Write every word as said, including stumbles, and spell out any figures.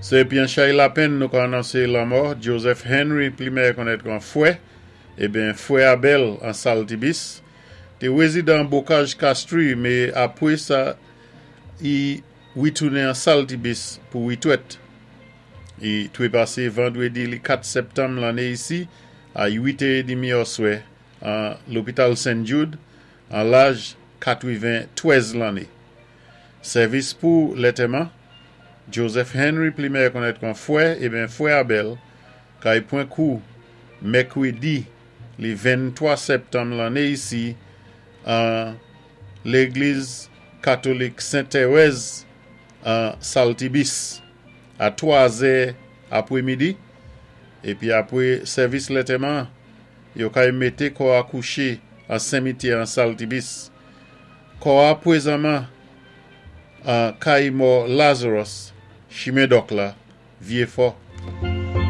Sé épi an chay lapenn nou ka anonsé lanmò Joseph Henry, pli mèyè konnèt kon Fwè, ébyen Fwè Abel an Saltibis, té wézidan Bokaj Kastri, mé apwé sa i witounen an Saltibis pou witwèt. I twépasé vandwédi li kat sèptanm lanné isi a uit é demi oswè an lopital Saint Jude an laj katwenntwèz lanné. Sèvis pou lantèman Joseph Henry, pli mèyè konnèt kon Fwè, ébyen Fwè Abel, kay pwan kou mèkwédi li venntwa sèptanm lanné isi an légliz katolik Saint-Thérèse an Saltibis a twa zè apwémidi, épi apwé sèvis lantèman yo kay mété kò a kouché an simityè an Saltibis. Kò a pwézanman an kay mò Lazarus, Chimen Dòk la, Vyéfò.